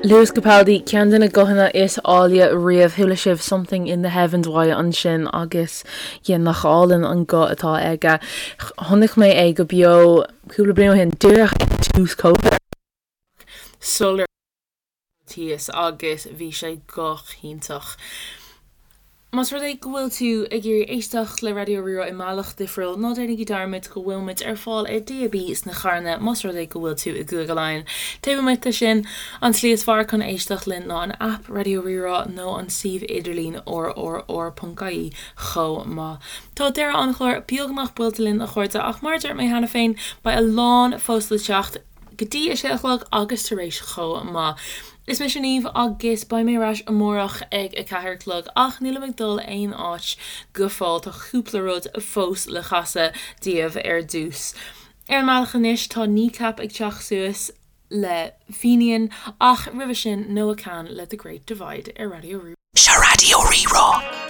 Lewis Capaldi, ceann de na guthanna is áille riamh. Chuala sibh Something in the Heavens uaidh ansin agus yeah, nach álainn an guth atá aige. Chonaic mé é go beo cúpla bliain ó shin, díreach ag tús Covid sular thíos agus bhí sé go hiontach. Más rud é go bhfuil tú ag iarraidh éisteacht le Raidió Rí-Rá i mbealach difriúil, ná déanaigí dearmad go bhfuil muid ar fáil ar DAB sna carranna más rud é go bhfuil tú i gCúige Laighean. Taobh amuigh de sin, an tslí is fearr chun éisteacht linn ná an aip Raidió Rí-Rá nó an suíomh idirlín rrr.ie chomh maith. Tá deireadh an chláir beagnach buailte linn a chairde ach mar a dúirt mé cheana féin, beidh a lán fós le teacht. go dtí a sé a chlog agus tar éis chomh maith. Is mise Niamh agus beidh mé ar ais amárach ag a 4 a chlog ach nílim ag dul aon áit go fóill, tá cúpla rud fós le casadh daoibh ar dtús. Ar an mbealach anois tá Kneecap ag teacht suas le Fenian ach roimhe sin Noah Kahan le The Great Divide ar Raidió Rí. Seo Raidió Rí-Rá.